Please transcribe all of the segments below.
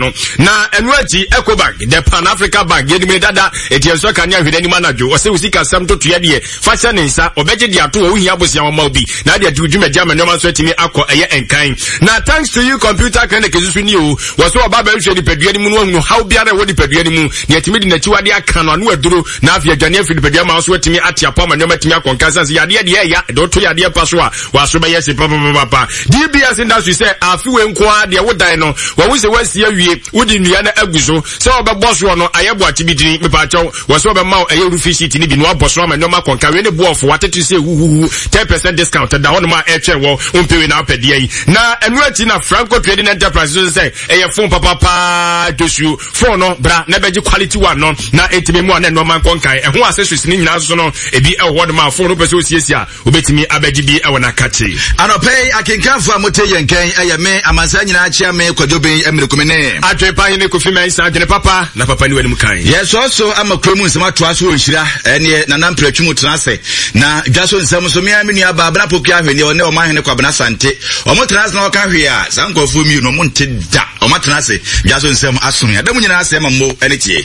No. Na ɛno akyi Ecobank, the Pan Africa Bank, yɛnim ne dada, eti ɛnsɔ kanea hwɛ n'anim anadwo. Ɔsɛ wo sikasɛm ntotoeɛ deɛ, fa hyɛ ne nsa, ɔbɛgye de ato hɔ, wohia abosea ɔma wo bi, na ade adi wo dwumadi ama nneɛma nso atumi akɔ ɛyɛ nkan. Na thanks to you computer clinic nso so ni o, wɔ so ɔba bɛhwehwɛ nipadua no mu no ahunu haw biara ɛwɔ nipadua no mu, na yɛtumi de n'akyiwade aka no ano aduro, na afei adwane afiri nipadua ma nso atumi ate apɔ ama nneɛma atumi akɔ nkan, sane sɛ yadeɛ deɛ ɛya, ɛde woto yadeɛ pa so a, W'aso bɛyɛ hye papapapapa. DBS Industry sɛ afe wei nko ara deɛ wodan no wɔwo sɛ woasi awie wode nnua no agu so sɛ wɔbɛbɔ soɔ no ayɛ boakye bi dini mepaakyɛw wɔ sɛ wɔbɛma wo ɛyɛ roofing sheet no bi na wabɔ so ama nneɛma akɔnka wei ne boɔfo watete sɛ huhuhu 10% discount da hɔnom a ɛretwɛn wɔ wompɛ wei na wopɛ deɛ yi na ɛno akyi na Franco Trading Enterprise nso sɛ ɛyɛ phone papapaa dwosuo phone no bra na bɛgye quality one no na ɛntumi mu a na nneɛma nkɔ nkan ɛho accessories ne nyinaa nso no ebi ɛwɔ hɔnom a phone no pɛ sɛ osiesie a Wobɛtumi abɛgye bi wɔ n'akakye. Anɔpa yi, akenkanfo a mote yɛn nkan yɛ me, amansan nyinaa akyea me, Kwadwo Ben Amirikume ne. Adwene pa hene Kofi Mensah, adwene papa na papa ni w'anim kan. Yɛsɔɔ so ama kuro mu nsɛm atoa so wɔ nhyira ɛneɛ Nana Mprɛtwe mu tena ase na dwa so nsɛm nso mea me nua baa Abena Pokuya Ahweneɛ ɔne ɔman hene Kwabena Sante ɔmo tena ase na ɔka hwee a saa nkurɔfoɔ mmienu ɔmo nte da ɔmo atena ase dwa so nsɛm asono yɛda mu nyinaa ase ama mo ɛne tie.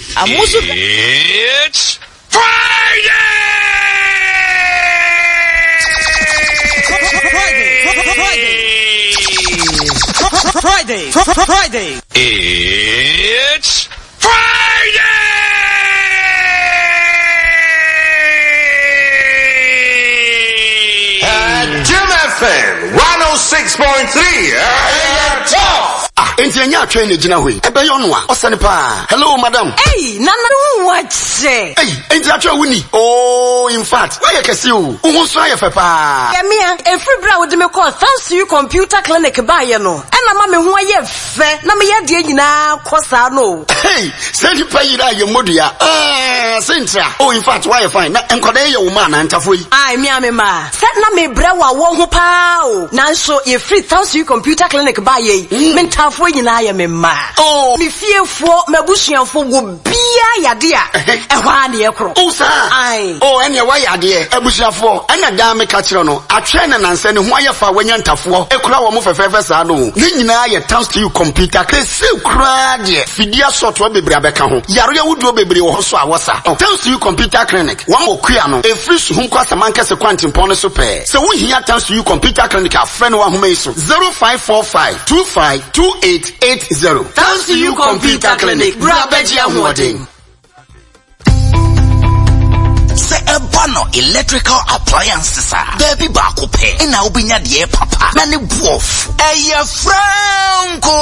It's Friday! Friday, Friday. It's Friday! Jim FM 106.3. Ah, enti ɛnyɛ atwɛn na egyina hɔ yi. Ɛbɛyɛ ɔno a, ɔsɛne paa. Hello, madam. Ei, nana wo wakyɛ. Ei, enti atwɛn wo ni. Oh, in fact, woayɛ kɛse o. Wo ho nso ayɛ fɛ paa. Yɛmea, ɛfiri berɛ a wode me kɔɔ Thanks to You Computer Clinic baeɛ no, ɛna ma me ho ayɛ fɛ na meyɛ adeɛ nyinaa kɔ saa no o. Hey, sɛ nipa yera a yɛ mmɔdua. Ah, sentira. Oh, in fact, woayɛ fine. Na nkwadaa yi yɛ wo mma anaa ntafoɔ yi? Ae, me a me mma. Sɛ na mebrɛ wɔ awɔ ho paa o. Nanso yɛfiri Thanks to You Computer Clinic baeɛ yi, me ntaafoɔ nyinaa yɛ me mma. Oh. Me fiefoɔ, m'abusuafoɔ, obiara yɛ adeɛ a, ɛhɔ ara na yɛkorɔ. Oh, saa? Ae. Oh, ɛneɛ woayɛ adeɛ. Abusuafoɔ, ɛna daa meka kyerɛ no, atwɛn na nansa ne ho ayɛ fɛ a wanya ntafoɔ kura wɔn fɛfɛɛfɛ saa no o. Ne nyinaa yɛ Thanks to You Computer Clinic. Seesei koraa deɛ, fidie asɔɔtoɔ bebree abɛka ho. Yareɛ ahodoɔ bebree wɔ hɔ nso a wɔsa. Thanks to You Computer Clinic, wɔn wɔ Kua no, ɛfiri Suhum kɔ Asamankɛse kwantempɔn no so pɛɛ. Sɛ wohia Thanks to You Computer Clinic a, frɛ no wɔ ahoma yi so, 0545 25 2880. Thanks to You Computer Clinic, bra bɛgye ahoɔden. Sɛ ɛba no electrical appliances a, baabi baako pɛ na wobɛnya deɛ papa na ne boɔfo. Ɛyɛ Franco!